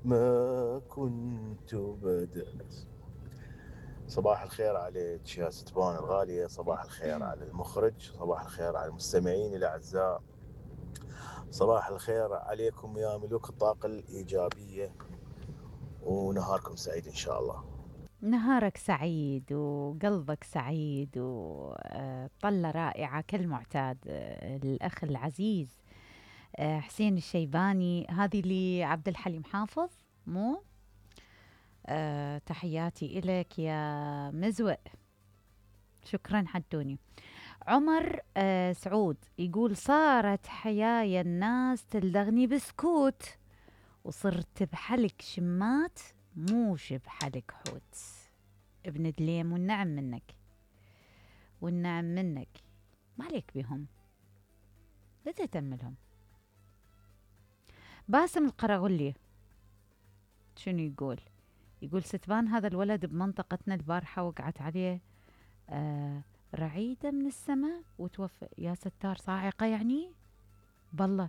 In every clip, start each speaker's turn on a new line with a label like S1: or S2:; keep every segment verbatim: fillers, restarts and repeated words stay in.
S1: ما كنت بدأت. صباح الخير عليك يا ستبان الغالية، صباح الخير على المخرج، صباح الخير على المستمعين الأعزاء، صباح الخير عليكم يا ملوك الطاقة الإيجابية، ونهاركم سعيد إن شاء الله.
S2: نهارك سعيد وقلبك سعيد وطلة رائعة كالمعتاد. آه، الأخ العزيز آه، حسين الشيباني، هذه لعبد الحليم حافظ مو أه تحياتي إلك يا مزوق، شكرا حدوني. عمر أه سعود يقول صارت حيايا الناس تلدغني بسكوت، وصرت بحلق شمات موش بحلق حوت. ابن دليم والنعم منك، والنعم منك، ما عليك بهم، لا تهتم. باسم القرغلي شنو يقول؟ يقول ستبان هذا الولد بمنطقتنا البارحة وقعت عليه آه رعيدة من السماء وتوفى. يا ستار، صاعقة يعني؟ بالله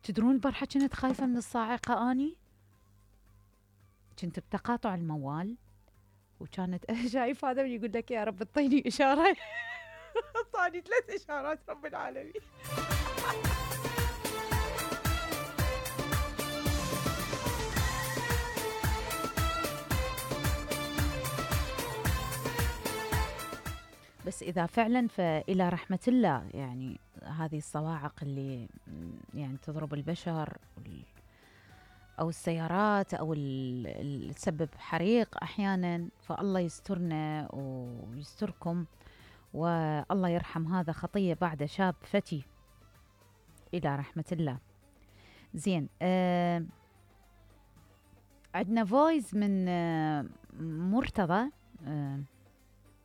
S2: تدرون البارحة كنت خايفة من الصاعقة أني، كنت بتقاطع الموال وكانت شايف هذا يقول لك يا رب اعطيني إشارة. اعطاني ثلاث إشارات رب العالمين. بس إذا فعلا فإلى رحمة الله، يعني هذه الصواعق اللي يعني تضرب البشر أو السيارات أو اللي تسبب حريق أحيانا، فالله يسترنا ويستركم، والله يرحم هذا خطية بعد شاب فتي إلى رحمة الله. زين، آه عندنا فويس من آه مرتضى. آه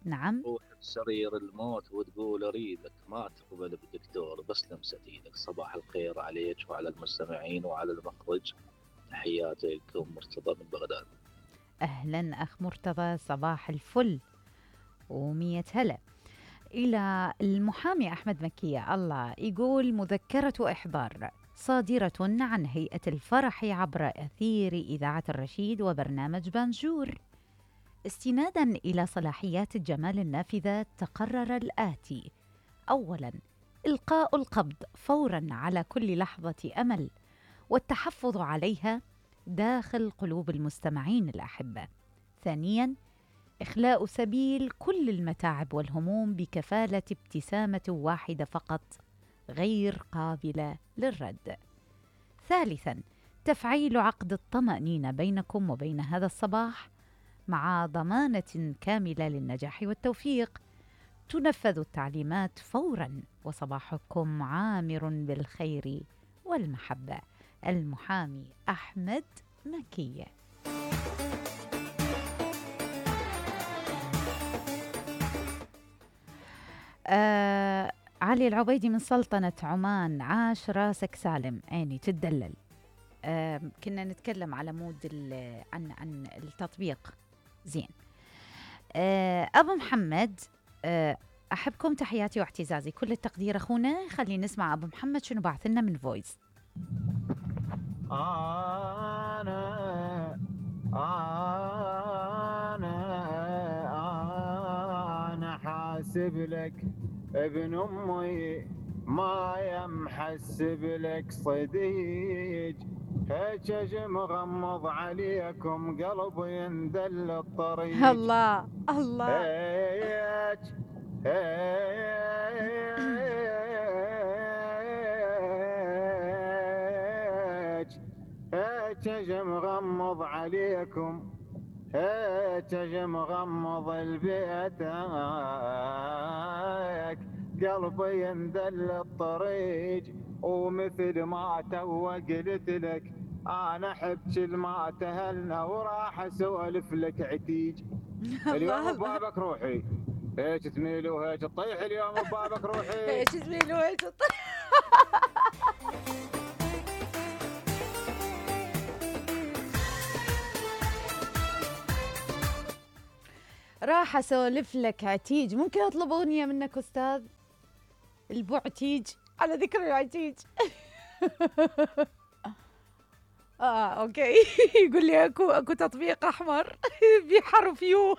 S2: نعم.
S3: روح بسرير الموت وتقول اريدك، ما تقبل بدكتور بس لمسة ايدك. صباح الخير عليك وعلى المستمعين وعلى المخرج، تحياتي لكم مرتضى من بغداد.
S2: أهلا أخ مرتضى، صباح الفل ومية هلا. إلى المحامي أحمد مكية، الله يقول مذكرة إحضار صادرة عن هيئة الفرح عبر أثير إذاعة الرشيد وبرنامج بانجور. استناداً إلى صلاحيات الجمال النافذة تقرر الآتي: أولاً، إلقاء القبض فوراً على كل لحظة أمل والتحفظ عليها داخل قلوب المستمعين الأحبة. ثانياً، إخلاء سبيل كل المتاعب والهموم بكفالة ابتسامة واحدة فقط غير قابلة للرد. ثالثاً، تفعيل عقد الطمأنينة بينكم وبين هذا الصباح مع ضمانة كاملة للنجاح والتوفيق. تنفذ التعليمات فوراً وصباحكم عامر بالخير والمحبة. المحامي أحمد مكية. آه علي العبيدي من سلطنة عمان، عاش راسك سالم، عيني تدلل. آه كنا نتكلم على مود عن عن التطبيق. زين. آه أبو محمد، آه أحبكم، تحياتي واعتزازي، كل التقدير أخونا. خلينا نسمع أبو محمد شنو بعث لنا من فويس.
S4: أنا أنا أنا حاسب لك ابن أمي، ما يمحسب لك صديق، هيك مغمض عليكم قلبي يندل الطريق.
S2: الله الله.
S4: هيك هيك هيك مغمض عليكم، هيك مغمض البيتك، قلبي يندل الطريق، ومثل ما تو قلت لك انا احب كل ما تهلنا وراح اسولف لك عتيج. اليوم ببابك روحي، هيك تميل وهيك تطيح، اليوم ببابك روحي،
S2: هيك تميل وهيك تطيح. راح اسولف لك عتيج. ممكن اطلب اغنيه منك استاذ؟ البعتيج، على ذكر العتيج. اه اوكي. يقول لي اكو اكو تطبيق احمر بحرف يو.